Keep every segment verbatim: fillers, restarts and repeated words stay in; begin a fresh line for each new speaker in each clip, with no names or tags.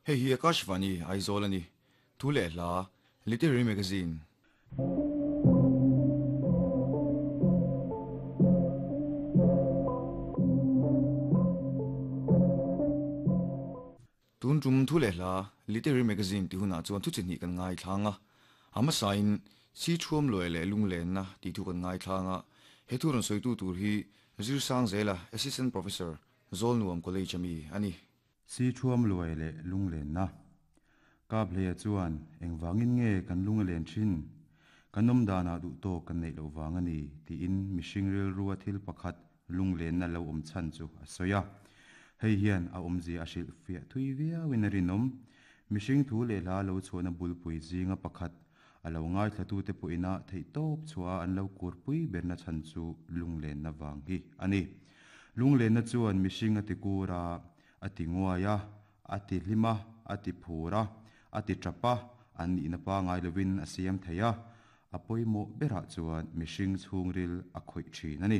Hei hi Akashvani Aizawl ani. Thu leh hla Literary Magazine. Tun tum thu leh hla Literary Magazine ti hunah chuan thu chi hnih kan ngai thlanga ama sain si thuam loi leh lung len na ti thu kan ngai thlanga he thu ron soitu tur hi Zir Sang Zela Assistant Professor Zolnuam College ami ani.
Si thuam loi leh lung len na ka bleya chuan engwangin nge kan lung len thin kanom dana du to kan nei lo wang ani ti in mishing ril ruwa thil pakhat lung len na lo om chan chu a soya hei hian a omzi a hril fia thui viau in rinom mishing thu le la lo chona bulpui zinga pakhat alo ngai thlatu te puina thei top chua an lo kurpui berna chan chu lunglen na wang hi ani lunglen na chuan mishing ati kura ati nguaya ati hlima ati phura ati trapa an ni na pa ngai lovin a siam theia apoimo bera chuan mishing chhungril a khoi thin ani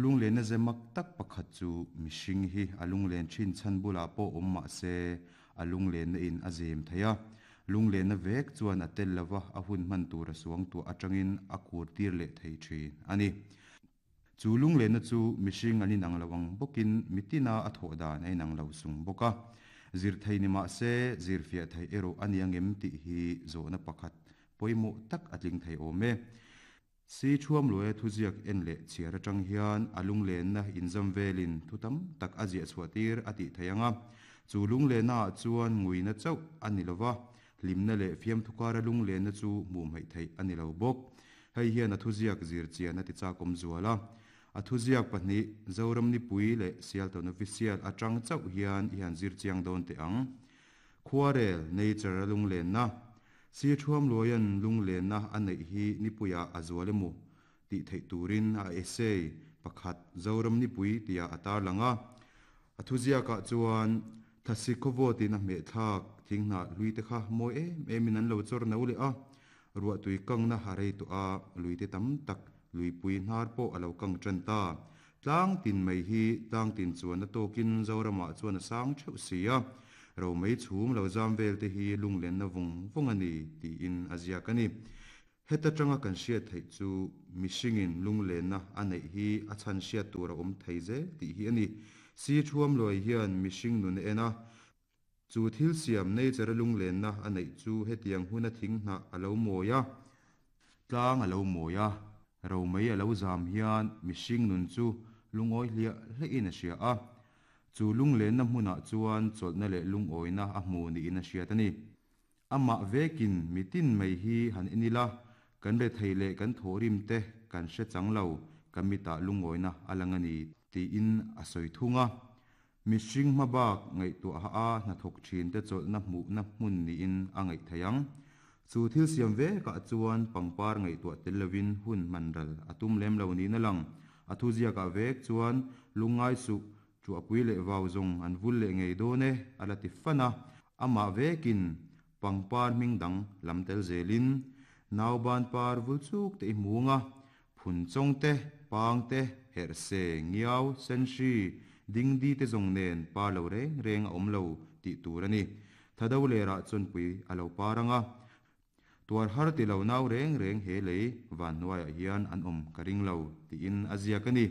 lunglen na zemak tak pakhat chu mishing hi alunglen thin chan bula po omma se alunglen na in azem theia lunglen na vek chuan a tel lova a hun man tur a suang tu atangin a kur tir le thei thin ani chu lunglen na chu mishing ani nang lawang bokin mitina a tho dan ai nang lo sung boka zir thei ni ma se zir fia thei ero ani angem ti hi zo na pakhat poimo tak atling thei ome si thuam loe thuziak en le chiar atang hian alung len na inzam velin thutam tak azia chhuatir ati theianga chu lung le na chuan nguina chau ani lova limna le fiam thukara lung le na chu mu mai thei ani lo bok hei hian a thuziak zir chian ati cha kom zuala a thuziak pahnih Zoram ni pui le sial ton official atang chau hian hian zir chiang don te ang khuarel nature lung len na si thuam loyan lung len na anei hi nipuya azualemu ti thei turin a essay pakhat Zoram ni pui tia atar langa a thuziak ah chuan thasikovo tin a me thak thingna luite kha moi em emin an lo chor no le a ruwa tui kang na harei to a luite tam tak lui pui hnar po alo kang tran ta tlang tin mai hi tlang tin chuan na tokin Zorama chuan a sang theu sia ro mai chhum lo jam vel te hi lunglen na vung vung ani ti in azia kani heta tanga kan hriat thei chu mishingin lunglen na anei hi a chan hriat tur a awm thei zel tih hi ani si thuam loi hian mishing nun ena chu thil siam nature lunglen na anei chu hetiang huna thing hna alo moya tlang alo moya ro mai alo zam hian mishing nun chu lungoi hlia hlein a hria a chu lunglen na hmuna chuan chawlhna leh lungawina a hmu niin a hriat ani ama vekin mitin mai hi han inila kan re thei leh kan thorim te kan hre changlo kamita lungawina alangani ti in a soi thunga mishing mabak ngai tu a a na thok thin te chawlhna hmu na hmun niin a ngai theiang chu thil siam ve ka chuan pangpar ngai tu tel lovin hun manral atum lem lo ni na lang a thu zia ka vek chuan lungai su chu apui le wau zong an vul le ngei do ne ala ti fana ama vekin pangpar mingdang lamtel zelin nauban par vul chuk te munga phun chong te pang te her se ngiau senshi dingdi te zong nen pa lo reng reng a om lo ti tur ani thado le ra chon pui alo paranga tuar har ti lo nau reng reng he lei van nuai hian an om karing lo ti in azia kani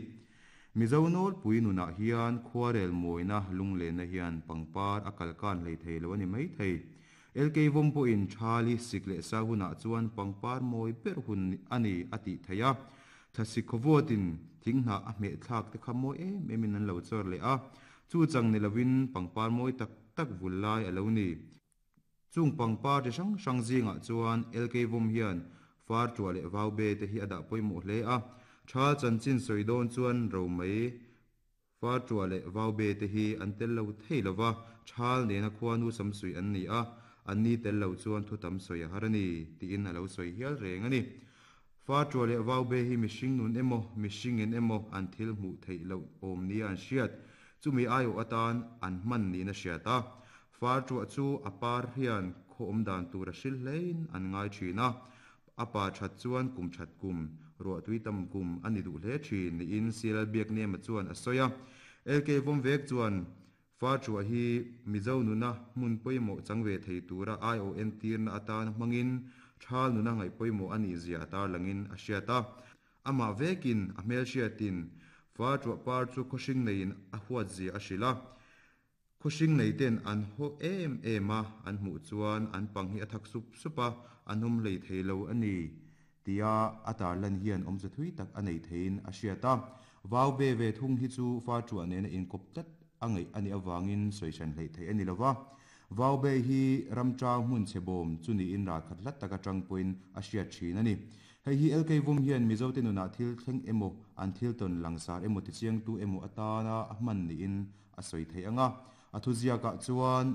Mizonol pui nuna hian khuarel moina lunglen na hian pangpar akalkan lei thei lo ani mai thei L K vom po in thali sikle sa huna chuan pangpar moi per hun ani ati theia thasikhowtin thingna a me thak te khamo em emin an lo chor le a chu chang ni lovin pangpar moi tak tak vulai alo ni chung pangpar te sang sang zinga chuan L K vom hian far chuale wau be te hi ada poimo hle a tha chanchin soidon chuan ro mai far chuale wau be te hi an tel lo thei lova thal ne na khuanu samsui an ni a an ni tel lo chuan thu tam soi harani ti in alo soi hial reng ani fa chuale wau be hi mishing nun emo mishing in emo an thil mu thei lo om ni an hriat chumi ayo atan an man ni na hriata fa chu chu apar hian khom dan tur a hril hlein an ngai thina apa that chuan kum that kum ro tui tam kum ani du hle thin ni in sial biak ne ma chuan a soya L K vom vek chuan Fa chua hi Mizo nuna hmun pawimawh chang ve thei tura I O N tirna atan hmangin thal nuna ngai pawimawh ani zia tar langin a hriat a. Ama vekin a hmel hriatin fa chua par chu khawhring neiin a huat zia a hril a. Khawhring nei ten an haw em em a, an hmuh chuan an pang hi a thak sup sup a, an awm hlei thei lo ani tia a tar lan hian awmze thui tak a nei theiin a hriat a. Vau be ve thung hi chu fa chua nena inkawp tlat a ngaih ani awangin sawisan hlei thei ani lova. Vau be hi ramchang hmun chebawm chu niin ral khat hlat taka tang pawhin a hriat thin ani. Hei hi L K Vum hian Mizo te nunah thil thleng emaw an thil tawn langsar emaw ti chiang tu emaw atana a hman niin a sawi thei anga. A thu ziakah chuan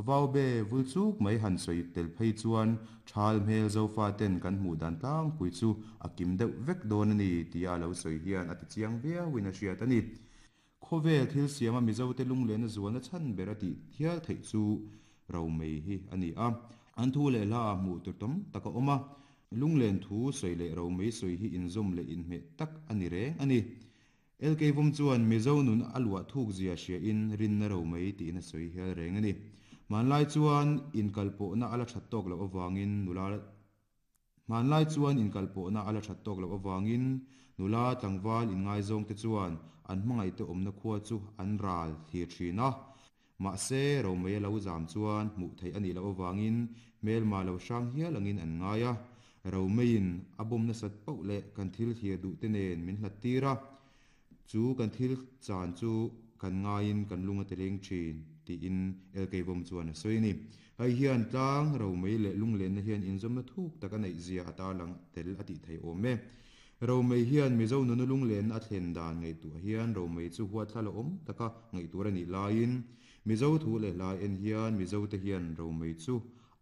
vau be vul chuk mai han sawi tel phei chuan thal hmel zofa ten kan hmuh dan tlang pui chu a kim deuh vek dawn ani tia lo sawi hian a ti chiang viauin a hriat ani. Khawvel thil siama Mizo te lunglen a zualna chhan ber a tih thial theih chu ro mei hi ani a. An thu leh hla a hmuh tur tam taka awm a. Lunglen thu sawi leh ro mei sawi hi inzawm leh inhmeh tak ani reng ani. L K Vum chuan Mizo nun a luah thuk zia hria in rinna ro mei tiin a sawi hial reng ani. Hmanlai chuan inkalpawhna ala that tawk loh awangin nula Hmanlai chuan inkalpawhna ala that tawk loh awangin nula tlangval inngaizawng te chuan an hmangaih te awmna khua chu an ral thlir thin a. Mahse ro mei a lo zam chuan hmuh theih ani loh awangin hmelma lo hrang hial angin an ngai a. Ro meiin a bawmna sat pauh leh kan thil thlir duh te nen min hlat tir a. Chu kan thil chan chu kan ngaiin kan lunga te leng thin tiin L K Vum chuan a sawi ani. Hei hian tlang ro mei leh lunglenna hian inzawmna thuk tak a neih zia a tar lang tel a tih thei awm e. Ro mei hian Mizo nuna lunglenna a thlen dan ngaihtuah hian ro mei chu huat thla la awm taka ngaihtur ani laiin Mizo thu leh hla en hian Mizo te hian ro mei chu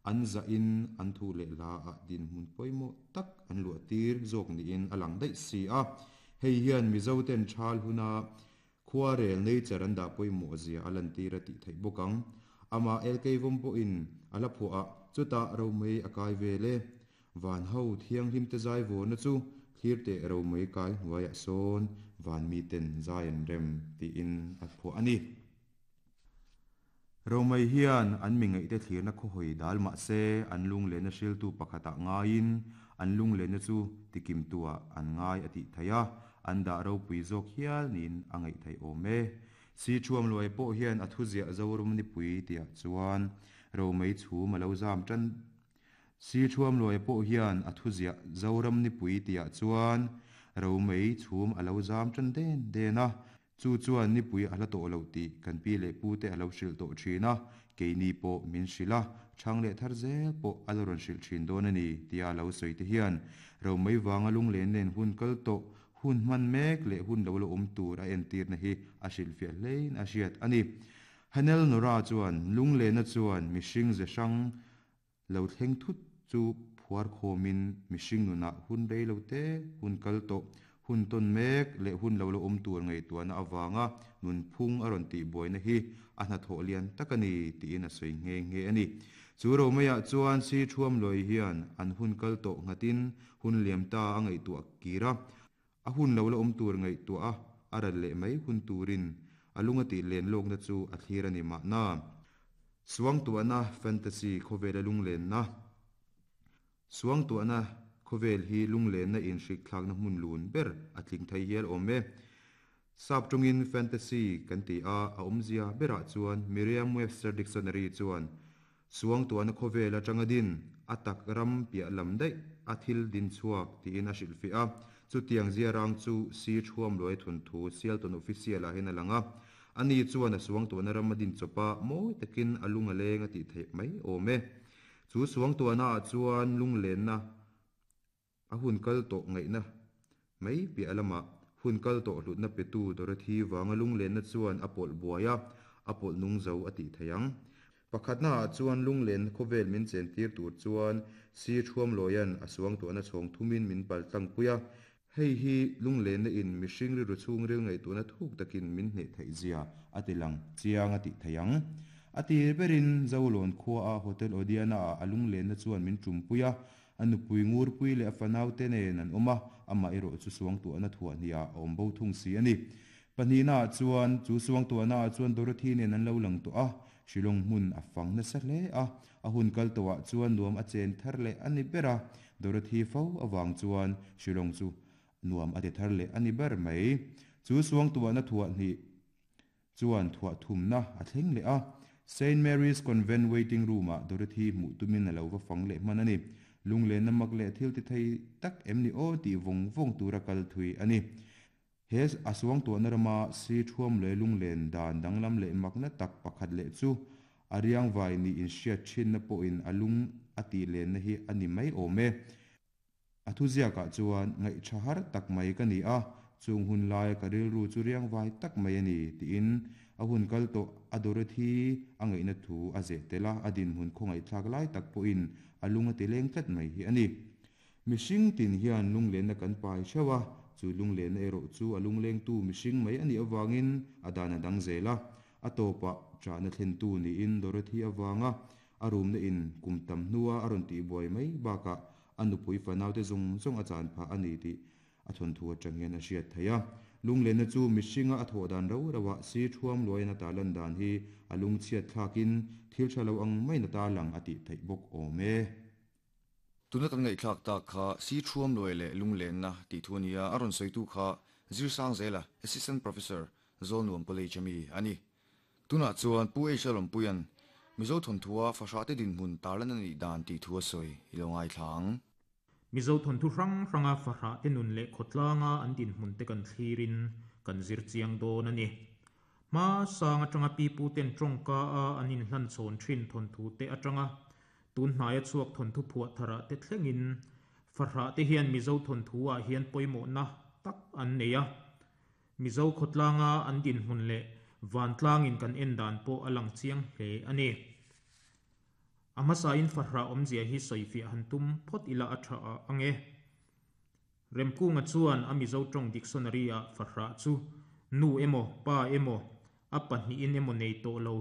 an zah in an thu leh hla ah din hmun pawimawh tak an luah tir zawk niin a lang daih si a. Hei hian Mizo ten thal huna khua rel nature an dah pawimawh zia a lan tir a tih theih bawk ang. Ama L K Vum pawhin a la phuah a chutah ro mei a kai vele. Van ho thianghlim te zai vawrna chu thlir te ro mei kai hnuaiah sawn van mi ten zai an rem tiin a phuah ani. Ro mei hian an mi ngaih te thlirna khawhawi dal mahse an lunglenna hriltu pakhatah ngaiin an lunglenna chu tikim tuah an ngai a tih thei a. An dah ropui zawk hial niin a ngaih thei awm e. Si thuam luai pawh hian a thu ziah Zoram nipui tiah chuan ro mei chhum a lo zam tan. Si thuam luai pawh hian a thu ziah Zoram nipui tiah chuan ro mei chhum a lo zam tan den den a. Chu chuan nipui a hla tawh lo tih kan pi leh pu te a lo hrilh tawh thin a. Keini pawh min hrilh a, thang leh thar zel pawh a lo rawn hrilh thin dawn ani tia lo sawi te hian ro mei wanga lunglen nen hun kal tawh hun hman mek leh hun lo lo awm tur a entirna hi a hrilh fiah hlein a hriat ani. Hanel Nora chuan lunglenna chuan mihring ze hrang lo thleng thut chu phuar khawmin mihring nunah hun rei lo te hun kal tawh hun tawn mek leh hun lo lo awm tur ngaihtuahna awanga nun phung a rawn tih buaina hi a hnathawh lian tak ani tiin a sawi nghe nghe ani. Chu ro meiah chuan si thuam lawi hian an hun kal tawh nghatin hun liam ta a ngaihtuah kir a. A hun lo la awm tur ngaihtuah a, a ral leh mai hun turin a lunga tih len lawkna chu a thlir ani mahna. Suangtuahna fantasy khawvel a lunglenna. Suangtuahna khawvel hi lunglenna inhrik thlakna hmun lun ber a tling thei hial awm e. Sap tungin fantasy kan ti a, a awmzia berah chuan Merriam-Webster Dictionary chuan suangtuahna khawvel atanga din a tak ram piah lam daih a thil din chhuak tiin a hrilh fiah a. Chu tiang zia rang chu si thuam luai thun thu Sialton official ah hian a lang a. Ani chuan a suangtuahna ram a din chawpa mawi takin a lunga leng a tih theih mai awm e. Chu suangtuahna ah chuan lunglenna a hun kal tawh ngaihna mai piah lamah hun kal tawh hlutna petu Dorothy wanga lunglenna chuan a pawlh buai a, a pawlh nung zo a tih thei ang. Pakhatna ah chuan lunglen khawvel min chen tir tur chuan si thuam lawian a suangtuahna chhawng thumin min pal tlang pui a. Hei hi lunglenna in mihring ri ru chhung ril ngaihtuahna thuk takin min hneh theih zia a ti lang chiang a tih thei ang. A tir berin Zolawn khua a Hotel Odiana ah a lunglenna chuan min tum pui a. A nupui ngur pui leh a fanau te nen an awm a, amah erawh chu suangtuahna thuah hniah a awm bo thung si ani. Pahnihna ah chuan chu suangtuahna ah chuan Dorothy nen an lo lang tawh a, Shillong hmun a fang nasa hle a, a hun kal tawhah chuan nuam a chen thar leh a ni ber a, Dorothy fo avang chuan Shillong chu nuam a ti thar leh a ni ber mai. Chu suangtuahna thuah hnih chuan thuah thumna a thleng leh a, Saint Mary's Convent waiting room-ah Dorothy hmuh tumin a lo va fang leh hman a ni. Lunglenna mak leh thil ti thei tak em ni aw tih vawng vawng tura kal thui a ni. He a suangtuahna rama si thuam leh lunglen dan danglam leh makna tak pakhat leh chu a riangvai nih inhriat thinna pawhin a lung a tih lenna hi a ni mai awm e. A thuziakah chuan ngaihṭha har tak mai ka ni a, chung hun laia ka rilru chu riangvai tak mai a ni, tiin a hun kal tawh a Dorothy a ngaihna thu a zeh tel a, a dinhmun khawngaihthlak lai tak pawhin a lung a ti leng tlat mai hi a ni. Mihring tin hian lunglenna kan pai theuh a, chu lunglenna erawh chu a lunglengtu mihring mai a nih avangin a dan a dang zel a, a tawpah ṭahna thlentu niin Dorothy avanga a rumna in kum tam hnua a rawn tihbuai mai bakah a nupui fanaute zawng zawng a chan phah a ni tih a thawnthu atang hian a hriat theih a. Lunglenna chu mihringa a thawh dan rau rauah si thuam luaiin a tarlan dan hi a lungchhiat thlakin thil tha lo ang maiin a tarlang a tih theih bawk awm e.
Tuna kan ngaihthlak tak kha si thuam luai leh lunglenna tih thu a ni a, a rawn sawitu kha Zirsangzela, Assistant Professor, Zawlnuam College ami a ni. Tunah chuan Pu H. Lawmpuia'n Mizo thawnthu-a fahrahte dinhmun tarlan a nih dan tih thu a sawi i lo ngaithla ang.
Mizo thawnthu hrang hranga fahrahte nun leh khawtlanga an dinhmun te kan thlirin kan zir chiang dawn a ni. Hma sang atanga pipu ten tawngka a an inhlan chhawn thin thawnthu te atanga tun hnaia chhuak thawnthu phuah tharah te thlengin fahrahte hian Mizo thawnthu ah hian pawimawhna tak an nei a. Mizo khawtlanga an dinhmun leh vantlangin kan en dan pawh a lang chiang hle a ni. A hmasain fahrah awmzia hi sawifiah han tum phawt ila a tha ang e. Remkunga chuan a Mizo tawng dictionary ah fahrah chu nu emaw pa emaw a pahnihin emaw nei tawh lo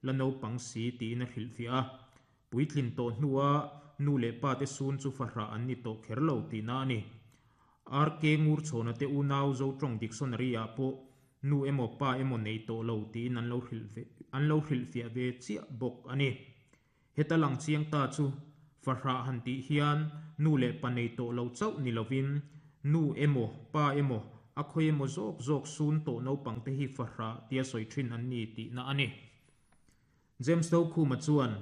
la naupang si tiin a hrilhfiah a. Puitlin tawh hnua nu leh pa te sun chu fahrah an ni tawh kher lo tihna a ni. R K Ngurchhawna te unau Zo tawng dictionary ah pawh nu emaw pa emaw nei tawh lo tiin an lo hrilh an lo hrilhfiah ve chiah bawk a ni. Heta lang chiang ta chu fahrah han tih hian nu leh pa nei tawh lo chauh ni lovin nu emaw pa emaw a khawi emaw zawk zawk sun tawh naupang te hi fahrah tia sawi thin an ni tihna a ni. James Dokhuma chuan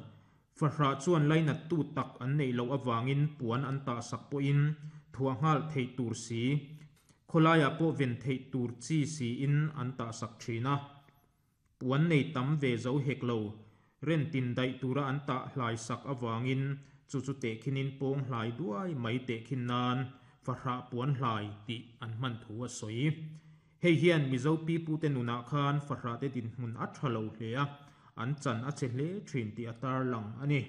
fahrah chuan lainat tu tak an nei loh awangin puan an tah sak pawhin thuah nghal theih tur si khawlaiah pawh ven theih tur chi siin an tah sak thin a. Puan nei tam ve zo hek lo ren tin daih tura an tah hlai sak awangin chu chu teh khinin pawng hlai duai mai teh khin nan fahrah puan hlai tih an hman thu a sawi. Hei hian Mizo pipu te nunah khan fahrah te dinhmun a tha lo hle a, an chan a che hle thin tih a tar lang a ni.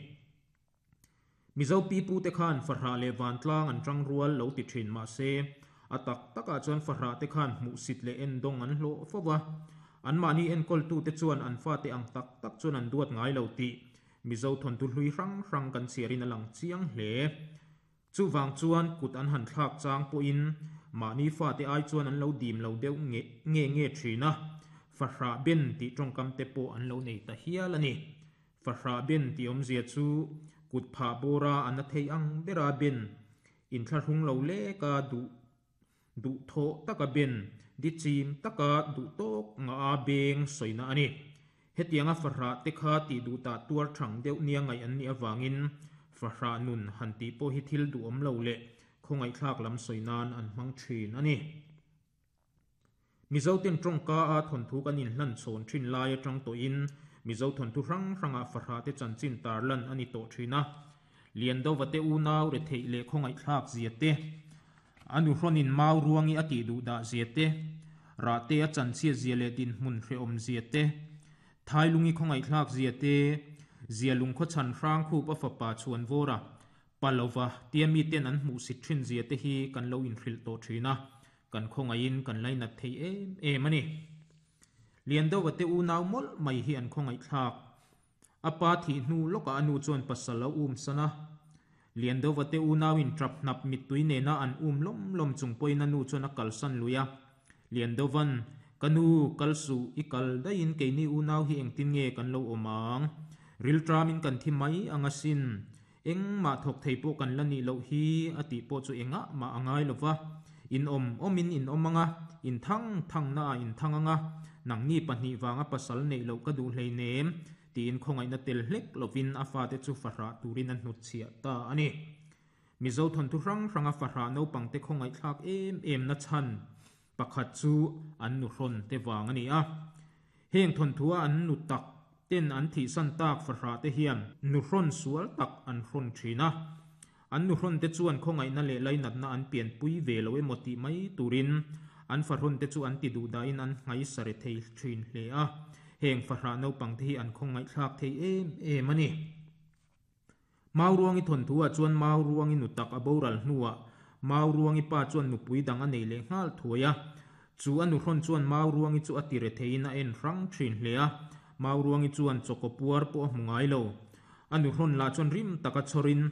Mizo pipu te khan fahrah leh vantlang an tang rual lo ti thin mah se a tak takah chuan fahrah te khan hmuh sit leh en dawng an hlawh fo va. An mahni enkawl tu te chuan an fa te ang tak tak chuan an duat ngai lo tih Mizo thawnthu hlui hrang hrang kan chhiarin a lang chiang hle. Chu wang chuan kut an han thlak chang pawhin mahni fa te ai chuan an lo dim lo deuh nge nge nge thin a. Fahrah ben tih tawngkam te pawh an lo nei ta hial a ni. Fahrah ben tih awmzia chu kut phah bawra an a thei ang bera ben inthlahrung lo leka duh duh thawh taka ben di chim taka duh tawk nga a beng sawina a ni. Hetianga fahrah te kha tih duh tah tuar thang deuh nia ngai an ni awangin fahrah nun han tih pawh hi thil duh awm lo leh khawngaihthlak lam sawi nan an hmang thin a ni. Mizo ten tawngka a thawnthu kan inhlan chhawn thin lai atang tawhin Mizo thawnthu hrang hrangah fahrah te chanchin tarlan a ni tawh thin a. Liandova te unau re theih leh khawngaihthlak zia te, anu hrawnin mau ruangi a tih duh dah zia te, rah te a chanchhiat zia leh dinhmun hrehawm zia te, thailungi khawngaihthlak zia te, zia lung khaw chhan hrang khup a fapa chuan vawra palova tia mi ten an hmuh sit thin zia te hi kan lo inhrilh tawh thin a, kan khawngaihin kan lainat thei em em a ni. Liandova te unau mawlh mai hi an khawngaihthlak. A pa thih hnu lawkah anu chuan pasal a um sana. Liandova te unauin trap hnap mittui nena an um lawm lawm chung pawhin anu chuan a kalsan lui a. Liandovan Ka nu kal suh i kal daihin keini unau hi engtin nge kan lo awm ang? Rilṭamin kan thi mai ang asin. Engmah thawk thei pawh kan la nih loh hi a tih pawh chu engah mah a ngai lo va. In awm awmin in awm ang a, in thang thangna ah in thang ang a, nangni pahnih vanga pasal neih loh ka duh hleinem tiin khawngaihna tel hlek lovin a fate chu fahrah turin a hnutchhiah ta a ni. Mizo thawnthu hrang hranga fahrah naupangte khawngaihthlak em em na chhan pakhat chu an nu hrawn te vang a ni a. Heng thawnthua an nu tak ten an thihsan tak fahrah te hian nu hrawn sual tak an hrawn thin a. An nu hrawn te chuan khawngaihna leh lainatna an pianpui ve lo emaw tih mai turin an fahrawn te chu an ti duh dahin an nghaisa re thei thin hle a. Heng fahrah naupangte hi an khawngaihthlak thei em em a ni. Mauruangi thawnthuah chuan Mauruangi nu tak a boral hnuah Mauruangi pa chuan nupui dang a nei leh nghal thuai a. Chu a nuhrawn chuan Mauruangi chu a ti re theiin a en hrang thin hle a. Mauruangi chuan chawkaw puar pawh a hmu ngai lo. A nuhrawn lah chuan rim taka chhawrin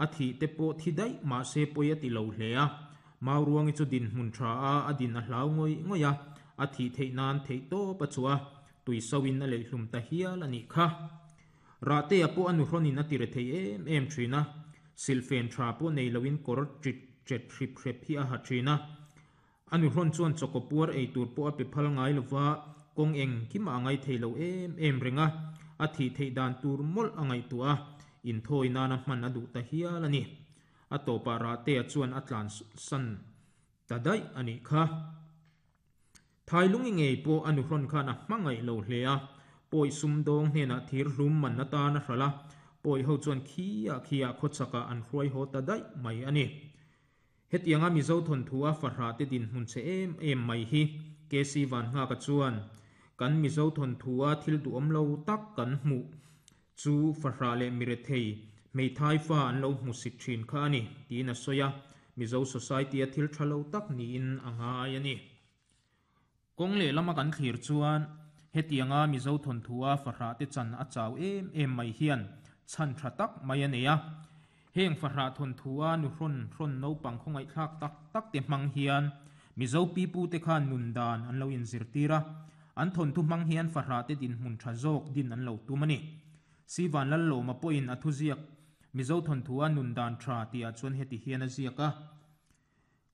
a thih te pawh thi daih mahse pawi a ti lo hle a. Mauruangi chu dinhmun tha a, a din a hlau ngawih ngawih a, a thih theih nan theih tawp a chhuah a, tui soin a leihlum ta hial a nih kha. Rahtea pawh a nuhrawnin a ti re thei em em thin a, silhfen tha pawh nei loin kawr ṭit ṭet hrip hrep hi a ha thin a. A nuhrawn chuan chawkaw puar ei tur pawh a pe phal ngai lova, kawng engkimah a ngai thei lo em em reng a, a thih theih dan tur mawlh a ngaihtuah a, inthawi nana hman a duh ta hial a ni. A tawpah Rahtea chuan a tlansan ta daih a nih kha. Thailungi ngei pawh a nuhrawn khan a hmangaih lo hle a, pawi sumdawng hnenah thir hlum man atan a hral a, pawi ho chuan khiah khiah khawchakah an hruai haw ta daih mai a ni. Hetianga Mizo thawnthu a fahrah te dinhmun che em em mai hi K C Vanhnghaka chuan kan Mizo thawnthu a thil duhawm lo tak kan hmuh chu fahrah leh mirethei hmeithai fa an lo hmu sit thin kha a ni tiin a sawi a, Mizo Society a thil tha lo tak niin a ngai a ni. Kawng leh lama kan thlir chuan hetianga Mizo thawnthu a fahrah te chan a chau em em mai hian chhan tha tak mai a nei a. Heng fahrah thawnthu a nuhrawn hrawn naupang khawngaihthlak tak tak te hmang hian Mizo pipu te khan nun dan an lo inzirtir a, an thawnthu hmang hian fahrah te dinhmun tha zawk din an lo tum a ni. Sivan Lallawma pawhin a thuziak Mizo thawnthu a nun dan tha tihah chuan heti hian a ziak a.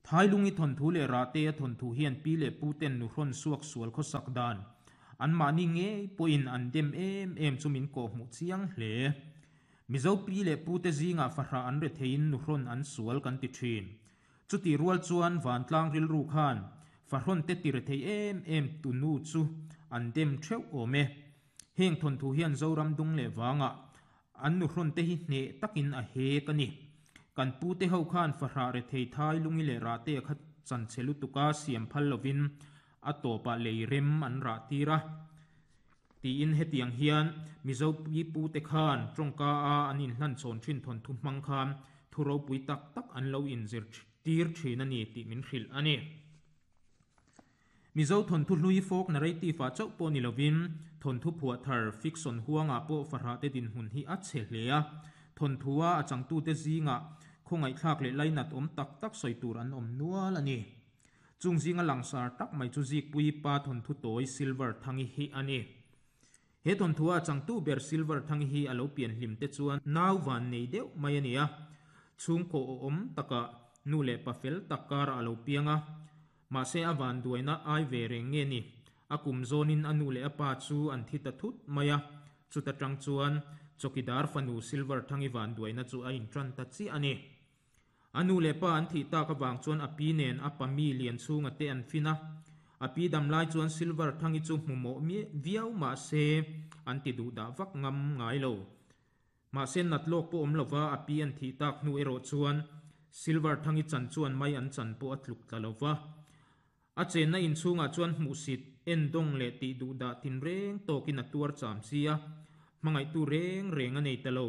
Thailungi thawnthu leh Rahtea thawnthu hian pi leh pu ten nuhrawn suak sual khawsak dan anmahni ngei pawhin an dem em em chu min kawh hmuh chiang hle. Mizo pi leh pu te zingah fahrah an re theiin nuhrawn an sual kan ti thin. Chuti rual chuan vantlang rilru khan fahrawn te ti re thei em em tu nu chu an dem theuh awm e. Heng thawnthu hian Zoram dung leh wangah an nuhrawn te hi hneh takin a hek a ni. Kan pu te ho khan fahrah re thei Thailungi leh Rahtea kha chan che lutuka siam phal lovin a tawpah lei rem an rah tir a. Tiin hetiang hian Mizo pi pu te khan tawngka a an inhlan chhawn thin thawnthu hmang khan thu ropui tak tak an lo inzir tir thin a ni tih min hrilh a ni. Mizo thawnthu hlui folk narrative ah chauh pawh ni lovin thawnthu phuah thar fiction huangah pawh fahrah te dinhmun hi a chhe hle a. Thawnthu a a changtu te zingah khawngaihthlak leh lainat awm tak tak sawi tur an awm nual a ni. Chung zinga langsar tak mai chu Zikpui pa thawnthu tawi Silver Thangi hi a ni. He thawnthu a changtu ber Silver Thangi hi a lo pian hlim te chuan nau van nei deuh mai a ni a. Chhungkaw awm takah nu leh pa fel tak karah a lo piang a. Mahse a van duaina ai ve reng nge ni. A kum zawnin a nu leh a pa chu an thi ta thut mai a. Chuta tang chuan chawkidar fanu Silver Thangi van duaina chu a intran ta chiah a ni. A nu leh pa an thih tak awang chuan a pi nen a pa mi lian chhunga te an fin a. A pi dam lai chuan Silver Thangi chu hmu mawh viau mahse an ti duh dah vak ngam ngai lo. Mahse nat lawk pawh awm lova a pi an thih tak hnu erawh chuan Silver Thangi chan chuan mai an chan pawh a tluk tla lova. A chenna inchhungah chuan hmuhsit en dawng leh tih duh dah tin reng tawkin a tuar cham chi a. Hmangaihtu reng reng a nei ta lo.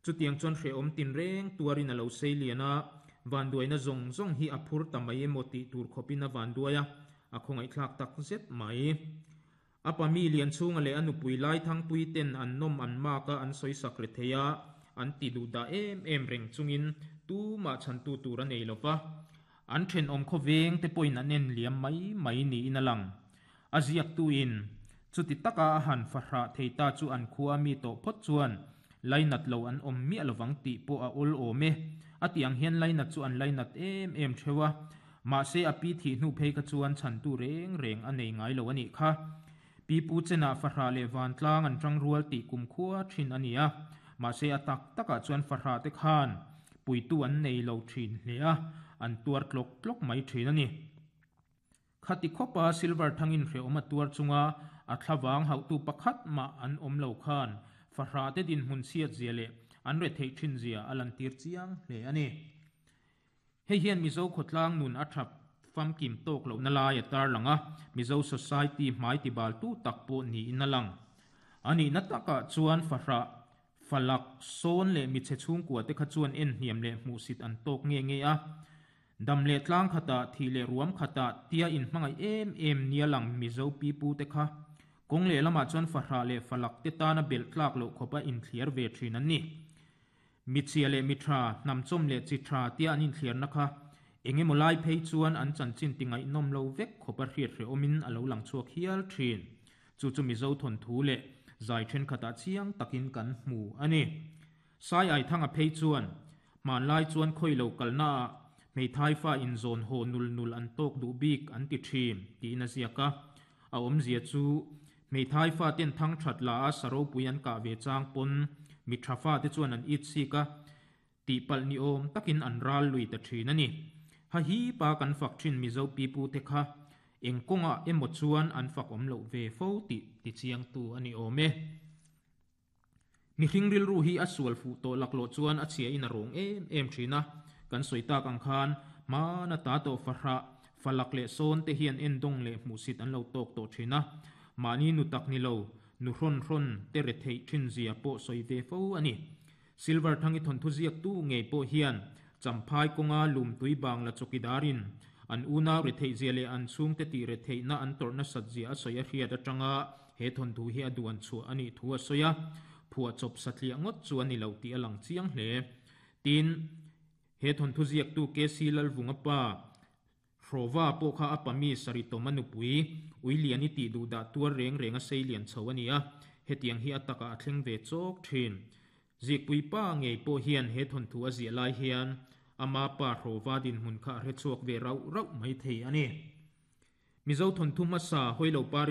Chutiang chuan hrehawm tin reng tuarin a lo sei lian a, van duaina zawng zawng hi a phur ta mai emaw tih tur khawpin a van duai a, a khawngaihthlak tak zet mai. A pa mi lian chhunga leh a nupui lai thangpui ten an nawm an mak a an sawi sak re thei a, an ti duh dah em em reng chungin tumah chhantu tur a nei lova. An thenawm khawveng te pawhin an en liam mai mai niin a lang. A ziaktuin chuti taka a han fahrah thei ta chu an khua mi tawh phawt chuan lainat lo an awm miah lovang tih pawh a awl awm e. A tih ang hian lainat chu an lainat em em theuh a, mahse a pi thih hnu phei kha chuan chhantu reng reng a nei ngai lo a nih kha. Pi pu chenah fahrah leh vantlang an tangrual tih kumkhua thin a ni a, mahse a tak takah chuan fahrah te khan puitu an nei lo thin hle a, an tuar tlawk tlawk mai thin a ni. Khati khawpa Silver thangin hrehawm a tuar chunga a thlavang hauhtu pakhat mah an awm lo khan fahrah te dinhmun chhiat zia leh an retheih thin zia a lantir chiang hle a ni. Hei hian Mizo khawtlang nun a thap famkim tawk lohna lai a tarlang a, Mizo society hmai tibaltu tak pawh niin a lang. A nihna takah chuan fahrah falak sawn leh michhe chhungkua te kha chuan en hniam leh hmuhsit an tawk nge nge a. Dam leh tlang khatah, thih leh ruam khatah tia inhmangaih em em nia lang Mizo pipu te kha kawng leh lamah chuan fahrah leh falak te tana belh tlak loh khawpa inthliar ve thin an ni. Michhia leh mitha, hnamchawm leh chi tha tia an inthliarna kha engemaw lai phei chuan an chanchin ti ngaihnawm lo vek khawpa hriat hrehawmin a lo lang chhuak hial thin. Chu chu Mizo thawnthu leh zai thenkhatah chiang takin kan hmu a ni. Sai ai thanga phei chuan hmanlai chuan khawi lo kalnaah hmeithai fa inzawn haw nul nul an tawk duh bik an ti thin tiin a ziak a. A awmzia chu hmeithai fa ten thang that la a saropui an kah ve chang pawn mi tha fa te chuan an it sik a, tihpalh ni awm takin an ral lui ta thin a ni. Ha hi pa kan fak thin Mizo pipu te kha eng kawngah emaw chuan an fak awm loh ve fo tih ti chiangtu a ni awm e. Mihring rilru hi a sual fuh tawh laklawh chuan a chhia in a rawng em em thin a, kan sawi tak ang khan hmana ta tawh fahrah falak leh sawn te hian endawng leh hmuhsit an lo tawk tawh thin a, mahni nu tak ni lo nu hrawn hrawn te retheih thin zia pawh sawi ve fo a ni. Silver thangi thawnthu ziaktu ngei pawh hian champhai kawnga lumtui bangla chawkidarin an unau retheih zia leh an chhungte tih retheihna an tawrhna sat zia a sawi a hriat atanga he thawnthu hi a duan chhuah a nih thu a sawi a, phuah chawp satliah ngawt chu a ni lo tih a lang chiang hle. Tin, he thawnthu ziaktu K C Lalvunga pa Hrawva pawh kha a pami Saritawma nupui Uiliani tih duh dah tuar reng reng a sei lian chho a ni a, hetiang hi a takah a thleng ve chawk thin. Zikpui pa ngei pawh hian he thawnthu a ziah lai hian ama pa Hrawva dinhmun kha a hre chhuak ve rauh rauh mai thei a ni. Mizo thawnthu hmasa Hawilo Pari